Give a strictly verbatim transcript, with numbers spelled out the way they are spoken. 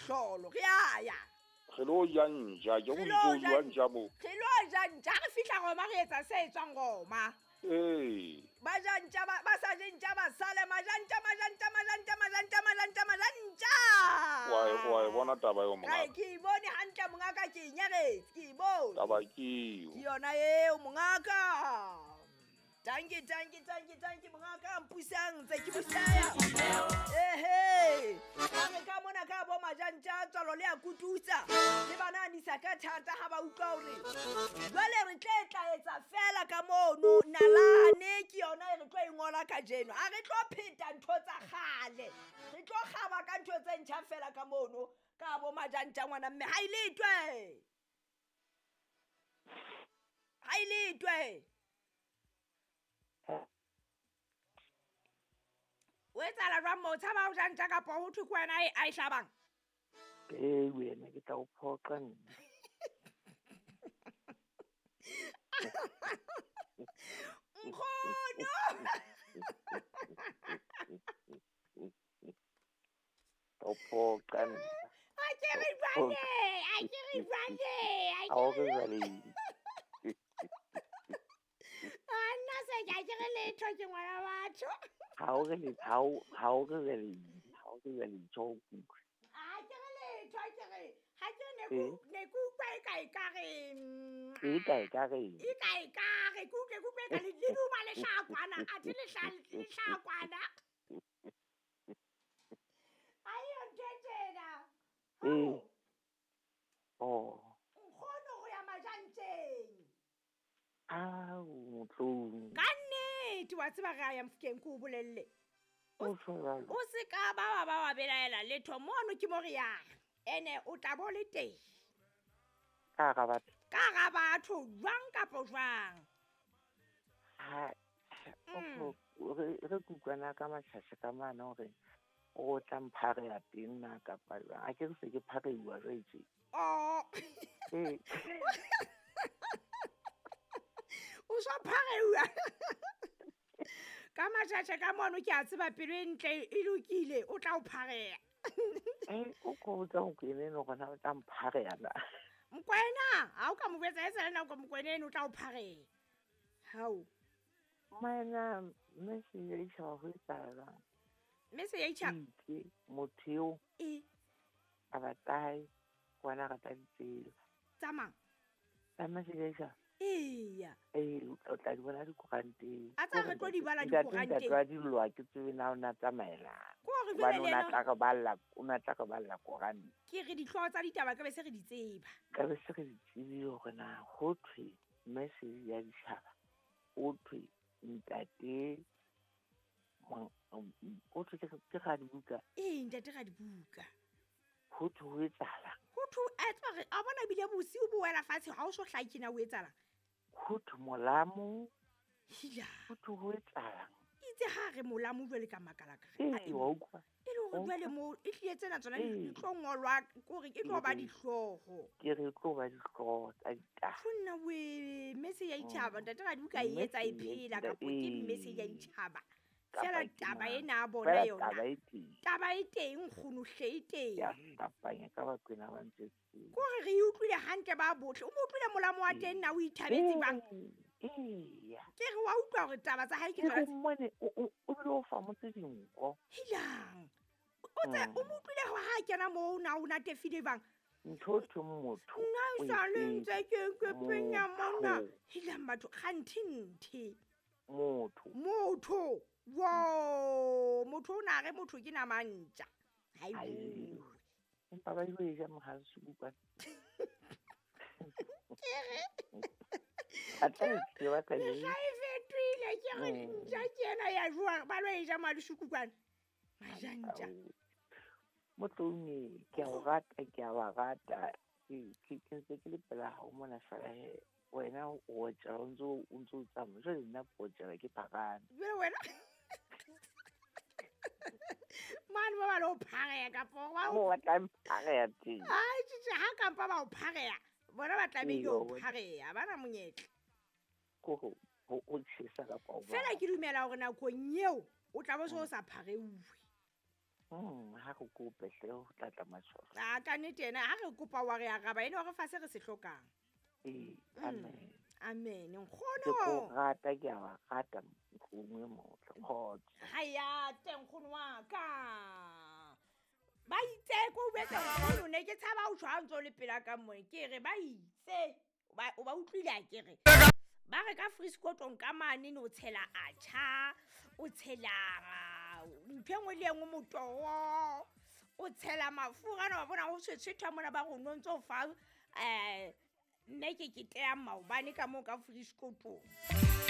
mehlolo re a ya re lo ja ntja ke go itse o ntja mo re lo ja ntja re fihla Roma re etsa se etswang Roma ee ba ja ntja ba ba sa je ntja ba sale majantja majantja majantja majantja majantja majantja wa e wa e bona taba eo mongaka ke e bone hantle mongaka ke e nyaretse ke e bone taba ke eo ke yona eo mongaka Danke, danke, danke, danke, mongaka mpusang tse ke busaya. Ehe. Ka re ka mona ka bo majantja tswalo le a kututsa. Le bana nisa ka thata ha ba utlwa hore jwale re tle tla etsa fela ka mono nalane ke yona e re tlo e ngola kajeno. Ha re tlo pheta ntho tsa kgale. Re tlo kgaba ka ntho tse ntjha fela ka mono ka bo majantja ngwana mme ha iletwe. Ha iletwe. O etsahala jwang moo? Tshaba ho ja ntja kapa ho thwe ke wena a e hlabang? Ee wena ke tla o phoqa nna. Nkgono! Tla o phoqa nna. A ke re jwale, a ke re jwale, a ke re jwale. A nna se ke a ke re letho ke ngwana batho. Ha o re le ha o ha o re le ha o re le tjo kuku. A ke re letho ke re ha ke ne ku ne ku utlwa e ka e ka re e ka e ka re e ka e ka re ku utlwe ku utlwe ka le duma lehlakwana a thi lehlakwana. Ayo nthetena. Eh. Oh. Nkgono ho ya majantjeng. Au motlong. Ka nnete wa tseba re a ya Mofokeng ke o bolelle. O se ka ba wa ba wa belaela letho mono ke mo re yang. Ene o tla bo le teng. Ka ga batho. Ka ga batho jwang kapa jwang. Ha o re re kutlwana ka matshasha ka mane hore o tla mpharea teng na kapa jwang. A ke re se ke phareiwa jwale tje. Oh. Eh. O sa phareiwa. Ka matjatja ka mono ke a tseba pelo e ntle e lokile o tla o pharea. Eh o ko botsa ho kene no gona o tla mpharea na. Mokwena, ha o ka mo botsa e sale nako mokwena eno o tla o pharea. Hao. Mana mme se ya itjhaba ho etsahala. Mme se ya itjhaba. Motho eo. E. A batlae ngwana rata ditsela. Tsamang. Mme se ya itjhaba. Eya. Eh o tla di bona dikoranteng. A tsa re tlo di bala dikoranteng. Ntate wa dillwa ke tsebe na o na tsamaela. Ko re jwale le yena o na tla re balla, o na tla re balla koranta. Ke re dihlooho tsa ditaba ka be se re di tseba. Ka be se re di tsebe hore na ho thwe message ya ditjhaba. Ho thwe ntate o thwe ke ga dibuka. Eh ntate ga dibuka. Ho thwe ho etsahala. Ho thwe a tswa re a bona bile bosiu bo wela fatshe ha o so hlake na o etsahala. Ho thwe molamo. Hila. Ho thwe ho etsahalang. Itse ha re molamo jwale ka makala ka re. Ee, wa utlwa. E le hore jwale mo e tlile tsena tsona di tlo ngolwa kore e tlo ba dihlooho. Ke re tlo ba dihlooho tsa ditaba. Tjho we mese ya itjhaba ntate ga dibuka e etsa e phela kapa ke mese ya itjhaba. Fela taba ena a bona yona. Taba e teng. Taba e teng nkgono hle e teng. Ya hlapanya ka bakwena ba ntse. Kore re utlwile hantle ba bohle. O mo utlwile molamo wa teng na o ithabetse bang? Eya. Ke re wa utlwa hore taba tsa hae ke tsona. Ke mmone o o bile o fa motse dinko. Hilang. O tse o mo utlwile hore ha kena moo na o natefile bang? Ntho thwe motho. Nna sa le ntse ke ke penya mona. Hilang batho kganthe nthe. Motho. Motho. Wo, motho o na re motho ke nama ntja. Ha e bue. Empa ba e ja mohasu kwa. Ke re. A tla ke ba tla e. Mehla e fetohile ke re ntja ke ena ya jwa ba lo e ja malusuku kwana. Majantja. Motloung ke a o rata ke a ba rata. Ke ke ntse ke le pela hao mona fela he. Wena o otjela o ntso o ntso tsamaya jwale nna ke otjela ke phakane. Jwale wena mane ba ba lo phareya kapo ba o tla mphareya teng. Ai tjhe ha kampa ba o phareya bona ba tlamehile ho phareya ba na monyetla. Ko ho o tjhesa kapa o. Fela ke dumela hore nakong eo o tla bo so sa phareuwe. Mm, ha re kope hle ho tla tla matshwao. A ka nnete ena ha re kopa wa re araba ene wa re fa se re se hlokang. Ee, Mm. amen. Amen Ke ko nkgono. rata, ke a wa rata nkgono e motle. Kgotso. Ha ya teng nkgono wa ka. Ba itse ko o betse nkgono ne ke tshaba ho tjho ha ntso le pela ka mone. Ke re ba itse ba o ba utlwile a ke re. Ba re ka friskotong ka mane ne o tshela atjha, o tshela ntho e nngwe le e nngwe motoho, o tshela mafura ana wa bona ho tshwetshwetha mona ba re o no ntso fa eh nne ke ke teya maobane ka moo ka friskotong.